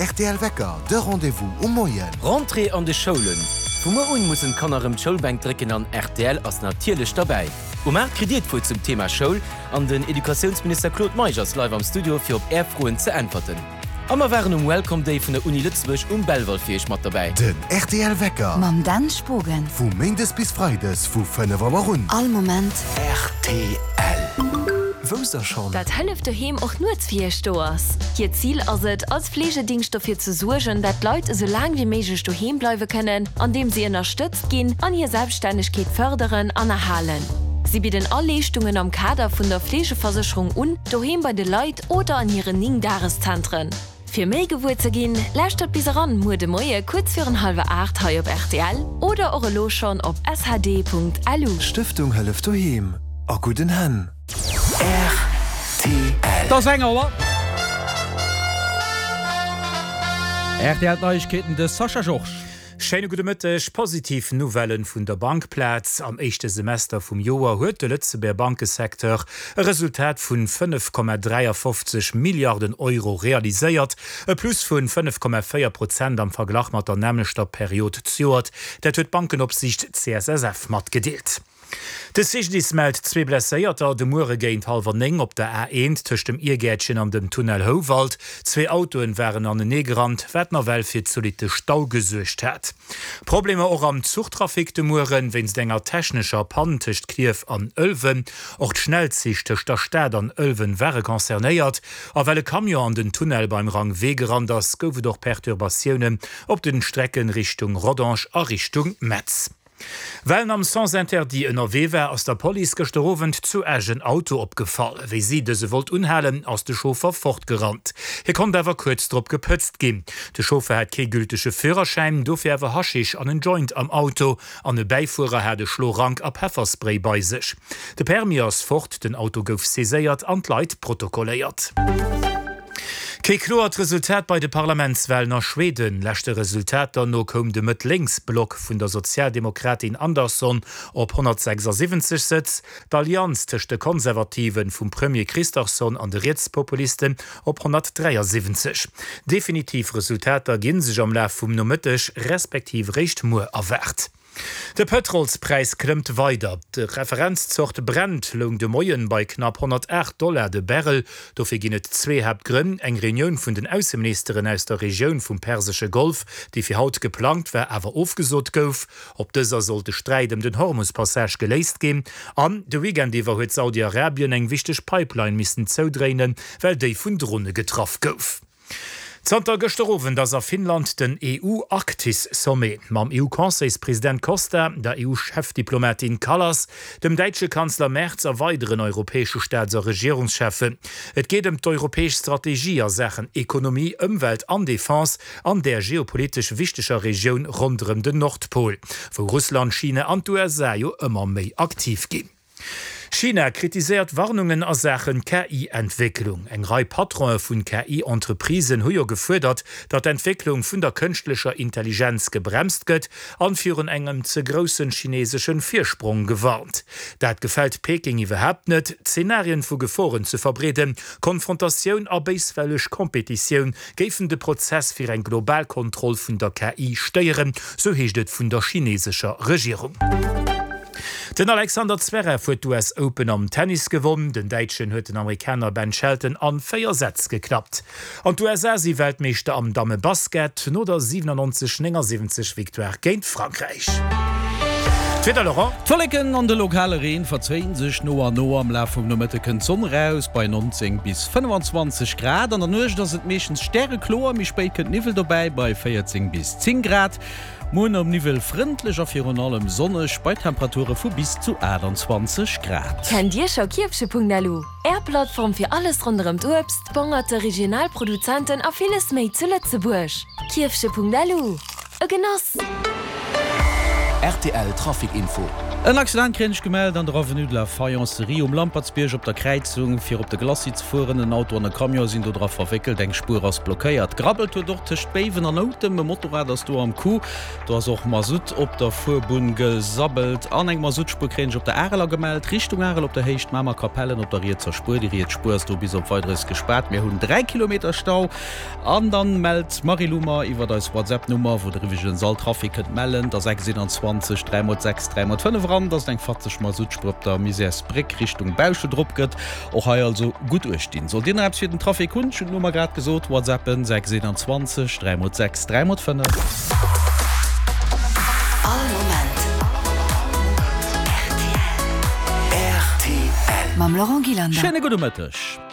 rtl Wecker, de Rendez-vous um Moien. Rentrée an de Schoulen, Vu muer un mussen d'Kanner rëm d'Schoulbänk drécken an rtl ass natierlech derbäi. Um 8 kritt dir d'Wuert zum Thema Schoul an den Educatiounsminister Claude Meisch ass live am Studio fir op är Froen ze äntwerten. A mer waren um Welcome Day vun der Uni Lëtzebuerg um Belval fir iech mat derbäi. Den rtl Wecker. Mam Dan Spogen. Vu Méindes bis Freides vu 5 Auer un. All Moment. Rtl. Wousst der schonn? Dat Hëllef Doheem och nuets fir iech do ass. Hiert Zil ass et, als Fleegedingscht dofir ze suergen, dat d'Leit esou laang wéi méiglech doheem bleiwe kënnen, andeem si ënnerstëtzt ginn an hir Selbststännegkeet fërderen an erhalen. Si bidden all Leeschtungen am Kader vun der Fleegeversécherung un, doheem bei de Leit oder an hiren 9 Dageszentren. Fir méi gewuer ze ginn, lauschtert bis eran muer de Moie kuerz virun hallwer 8 hei op rtl oder och elo schonn op shd.lu. Stëftung Hëllef Doheem, a gudden Hänn. Rtl. Et ass eng Auer. Rtl Neiegkeeten, de Sascha Georges. Schéine gudde Mëtteg. Positiv Nouvellen vun der Bankplaz. Am éischte Semester vum Joer huet de Lëtzebuerger Bankesecteur e Resultat vun 5,53 Milliarden Euro realiséiert, e Plus vun 5,4 Prozent am Verglach mat der nämmlechter Period zejoert. Dat huet d'Bankenopsiicht CSSF matgedeelt. De CGDIS mellt zwee Blesséierter de Muere géint hallwer 9 op der A1 tëscht dem Iergäertchen an dem Tunnel Houwald. Zwee Autoen waren anenee gerannt, wat nawell fir zolitte Stau gesuergt hat. Problemer och am Zuchtrafic de Mueren, wéinst enger technescher Pann tëscht Klierf an Ëlwen. Och d'Schnellzich tëscht der Stad an Ëlwen ware concernéiert. A well e Camion an den Tunnel beim Rang Wee gerannt ass, gouf et och Perturbatiounen op den Strecken Richtung Rodange a Richtung Metz. Well en am Sens interdit ënnerwee war, ass der Police gëschter Owend zu Esch en Auto opgefall. Wéi si dëse wollt unhalen, ass de Chauffer fortgerannt. Hie konnt awer kuerz drop gepëtzt ginn. De Chauffer hat kee gültege Führerschäin, dofir awer Haschisch an en Joint am Auto an e Bäifuerer hat e Schlorank a Pefferspray bei sech. De Permis ass fort, den Auto gouf saiséiert an d'Leit protokolléiert. Kee kloert Resultat bei de Parlamentswalen a Schweden. Leschte Resultater no koum de Mëtt-Lénks-Block vun der Sozialdemokratin Andersson op 176 Sëtz, d'Allianz tëscht de Konservativen vum Premier Kristersson an de Rietspopulisten op 173. Definitiv Resultater gi sech am Laf vum Nomëtteg respektiv réischt muer erwaart. De Pëtrolspräis klëmmt weider. D'Referenzzort Brent loung de Moien bei knapp 108 Dollar de Barrel. Dofir ginn et zwee Haaptgrënn, eng Reunioun vun den Ausseministeren aus der Regioun vum persesche Golf, déi fir haut geplangt war, awer ofgesot gouf. Op dëser sollt de Sträit ëm den Hormus-Passage geléist ginn. An de Weekend iwwer huet Saudi-Arabien eng wichteg Pipeline missen zoudréinen, well déi vun Drone getraff gouf. Zanter gëschter Owend ass a Finnland den EU-Arktis-Sommet. Mam EU-Conseilspresident Costa, der EU-Chefdiplomatin Kallas, dem däitsche Kanzler Merz a weideren europäesche Staats a Regierungscheffen. Et geet ëm d'europäesch Strategie a Saachen Ekonomie, Ëmwelt an Defense an där geopolitesch wichteger Regioun ronderëm den Nordpol, wou Russland, China an d'USA jo ëmmer méi aktiv ginn. China kritiséiert Warnungen a Saachen KI-Entwécklung. Eng Rei Patrone vun KI-Entreprisen hu jo gefuerdert, datt d'Entwécklung vun der kënschtlecher Intelligenz gebremst gëtt an virun engem ze groussen chineseschen Virsprong gewarnt. Dat gefält Peking iwwerhaapt net. Zenarien vu Geforen ze verbreeden, Konfrontatioun a béiswelleg Kompetitioun géifen de Prozess fir eng global Kontroll vun der KI stéieren, sou heescht et vun der chinesescher Regierung. Den Alexander Zverev huet d'US Open am Tennis gewonn. Den Däitschen huet den Amerikaner Ben Shelton an 4 Sätz geklappt. An d'USA si Weltmeeschter am Damme-Basket no der 97, 79 Victoire géint Frankräich. D'Wieder, Laurent. D'Wolleken an de lokale Reen verzéien sech no an no. Am Laf vum Nomëtte kënnt d'Sonn eraus bei 19 bis 25 Grad. An der Nuecht ass et meeschtens stärekloer, méi spéit kënnt Niwwel dobäi bei 14 bis 10 Grad. Muer nom Niwwel frëndlech a virun allem sonneg bei Temperature vu bis zu 28 Grad. Kennt Dir scho Kierfche.lu? Är Plattform fir alles ronderëm d'Uebst, d'Bongerte, regional Produzenten a villes méi zu Lëtzebuerg. Kierfche.lu, e Genoss! Rtl Trafic Info. En Accident kréien ech gemellt an der Avenue de la Faïencerie um Lampertsbierg op der Kräizung fir op de Glacis ze fueren. En Auto an e Camion sinn do dra verwéckelt, eng Spuer ass blockéiert. Grabbelt huet och tëscht Béiwen an Noutem, e Motorrad ass do am Coup. Do ass och Masutt op der Fuerbunn gesabbelt an eng Masuttspuer kréien ech op der Areler gemellt, Richtung Arel op der Héicht Mamer-Kapellen op der rietser Spuer. Déi riets Spuer ass do bis op Weideres gespaart. Mir hunn 3 Kilometer Stau. An dann mellt d'Marilou mer iwwert eis WhatsApp Nummer, wou der iwweregens all Trafic kënnt mellen, dass 6 21 3 mol 6 3 mol 5 eran, dass et eng fatzeg Masuttspuer op der Misärsbréck Richtung Bauschelt erop gëtt. Och hei also gutt uecht dinn. Sollt dir nach eppes fir den Trafic hunn, ech hunn d'Nummer grad gesot, WhatsAppen 6 21 3 mol 6 3 mol 5. All Moment rtl. Mam Laurent Gillander. Schéine gudde Mëtteg.